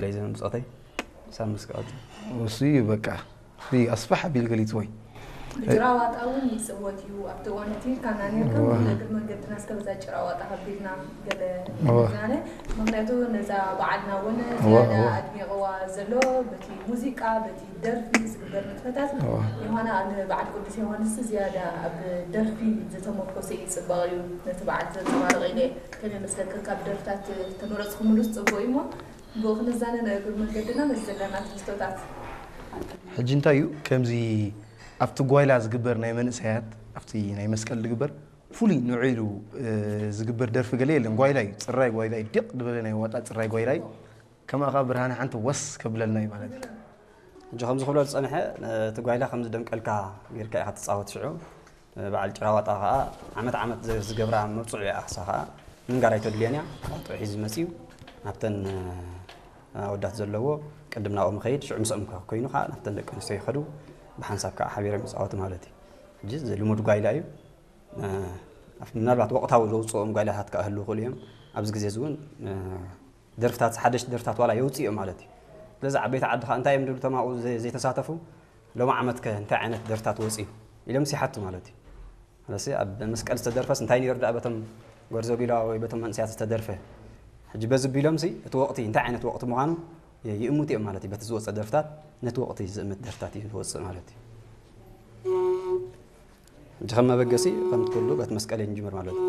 ለይ ዘመን ብጾተይ ሳብ መስቀል እሱ እዩ በቃ እዚ ኣስፋሕ ኣቢል ገሊጽ ወይ ብጭራዋጣ እውን ይፅወት እዩ ኣብቲ እዋን እቲ ካና ነርካ እዋ። እግር መንገድና እስከ በዛ ጭራዋጣ ከቢልና ገለ እዋ። ዛነ ምክንያቱ ነዛ በዓልና እውን እዋ፣ ዝያዳ እዋ። ኣድሚቕዋ ዘሎ በቲ ሙዚቃ በቲ ደርፊ ዝግበር ንጥፈታት እዋ። ዮሃና ንበዓል ቅዱስ ዮሃንስ ዝያዳ ኣብ ደርፊ ዝተመርኮሰ እዩ ፅባቕ እዩ ነቲ በዓል ዘንፀባርቕ ኢለ ከመይ መስለካ ካብ ደርፍታት ተመረፅኩምሉስ ፅቡቅ እዩ እሞ ብኡ ክንዛነ ናይ እግር መንገድና ነዚ ዘለና ትሕዝቶታት ሕጂ እንታይ እዩ ከምዚ ኣብቲ ጓይላ ዝግበር ናይ መንእሰያት ኣብቲ ናይ መስቀል ዝግበር ፍሉይ ንዑ ኢሉ እ፣ ዝግበር ደርፊ ገለ የለን ጓይላ እዩ ፅራይ ጓይላ እዩ ዲቕ ዝበለ ናይ ዋጣ ፅራይ ጓይላ እዩ ከማኻ ብርሃነ ሓንቲ ወስ ከብለልና እዩ ማለት እዩ ሕጂ ከምዚ ክብሎ ዝፀንሐ እቲ ጓይላ ከምዚ ደምቀልካ ጌርካ ኢኻ ትፃወት ሽዑ በዓል ጭራዋጣ ከዓ ዓመት ዓመት ዝ- ዝገብራ መብፅዑ እያ ኣክሳ ከዓ ምንጋር ኣይተድልዮን እያ ጥዑ ሒዙ መፅዩ ናብተን ኣወዳት ዘለዎ ቅድም ናብኦም ይኸይድ ሽዑ ምስኦም ከ- ኮይኑ ከዓ ናብተን ደቂ ኣንስትዮ ይኸዱ ብሓንሳብ ከዓ ሓቢሮም ይፃወቱ ማለት እዩ ሕጂ እዚ ልሙድ ጓይላ እዩ እ፣ ምናልባት ወቕታዊ ዘውፅኦም ጓይላታት ከዓ ህልው ይኽእሉ እዮም ኣብዚ ግዜ እዚ እውን እ፣ ደርፍታት ሓደሽቲ ደርፍታት ዋላ የውፅእ እዮም ማለት እዩ ስለዚ ዓበይቲ ዓዲ ከዓ እንታይ እዮም ድብሉ ተማኡ ዘ- ዘይተሳተፉ ሎም ዓመት ከ እንታይ ዓይነት ደርፍታት ወፅዩ ኢሎም ሲሓቱ ማለት እዩ ስለዚ ኣብ መስቀል ዝተደርፈስ እንታይ ነይሩ ደኣ በቶም ጎርዞ ጊላ ወይ በቶም መንእሰያት ዝተደርፈ ሕጂ በዚ ቢሎም ሲ እቲ ወቕቲ እንታይ ዓይነት ወቕቲ ምዃኑ ይ- ይእምቱ እዮም ማለት እዩ በቲ ዝወፀ ደርፍታት ነቲ ወቕቲ ዝእምት ደርፍታት እዩ ዝወፅእ ማለት እዩ ሕጂ ከም መበገሲ ከምቲ ኩሉ በቲ መስቀል እዩ ንጅምር ማለት እዩ